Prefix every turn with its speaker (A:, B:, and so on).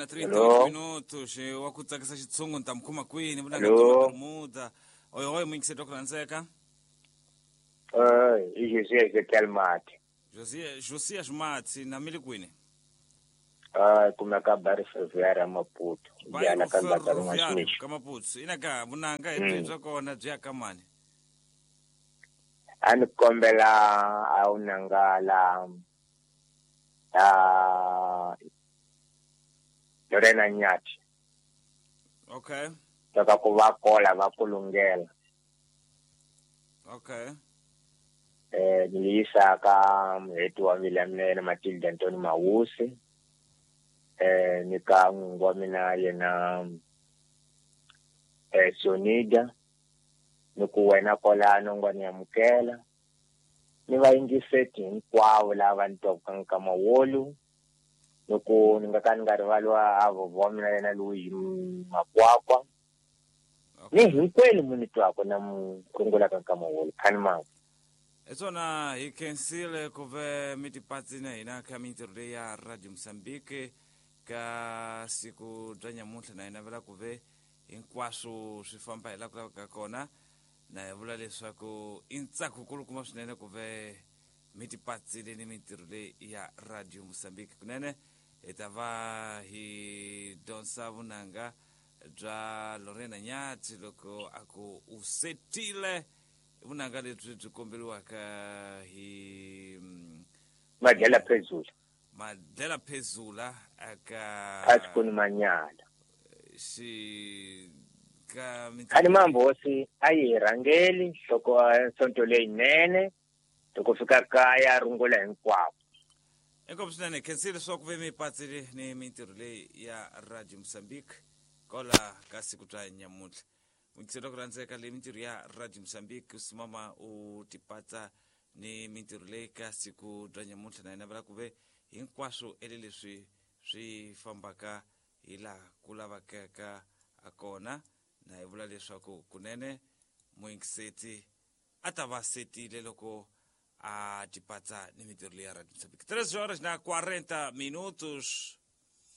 A: na 38
B: Hello.
A: Minutos wa ku tsakisa xitshungu ni ta mi khoma kwini vunanga
B: Hello.
A: bya mabermuda oyohoyo muyingiseti wa ku rhandzeka.
B: I José Ezekiel Mati.
A: Josias Matsi na mi le kwini?
B: Kumeka Barry Ferroviário Maputo. Jala ka Ndaka Rin'wa
A: ka Maputo ina ka vunanga hi byi bya kona byi ya ka mani?
B: A ni kombela a wu nanga la Lorena Nyati.
A: Okay.
B: Loko ku va kola va kulungela.
A: Okay.
B: Ni yisa ka muheti wa mina mina yena Matilda Ntoni Mawusi. Ni ka n'wingi wa mina yena Sonida. Ni ku wena kolano ngwa ni amukela. Ni vayingiseti hinkwavo lava ni twaka nkama wolu. Ni ku ni nga ka ni nga rivali wa vovho wa mina yena loyi Makwakwa. Ni hinkwenu mu ni twaka na mu rungulaka nkama wolu khani mama.
A: Hi swona hi khensile ku ve mi tipatsi na hina ka mintirho leyi ya Radio Mozambique ka siku bya nyamuntlha na hi navela ku ve hinkwaswo swi famba hi laha ku lavekaka kona na hi vula leswaku i ntsako kulukumba swinene ku ve mi tipatsile ni mintirho leyi ya Radio Mozambique kunene hi ta va hi dyondza vunanga bya Lorena Nyati loko a ku u setile vunanga lebyi byi komberiwaka hi
B: Madlela Phezula.
A: Madlela Phezula aka
B: Phasikoni Manyala.
A: Xi ka
B: Khani mambosi a yi hi rhangeli loko sonto leyinene loko fika kaya rungula hinkwavo.
A: Inkomu swinene khensile leswaku ve mi patsile ni mintirho leyi ya Radio Mozambique kola ka siku bya nyamuntlha muyingiseri wa ku rhandzeka leyi mintirho ya Radio Mozambique u simama u tipatsa ni mintirho leyi ka siku bya nyamuntlha na hina vula ku ve hinkwaswo ele leswi swi fambaka hi laha ku lavekaka a kona na hi vula leswaku kunene muyingiseti a ta va setile loko a tipatsa ni mintirho leyi ya Radio Mozambique 3 horas na 40 minutos.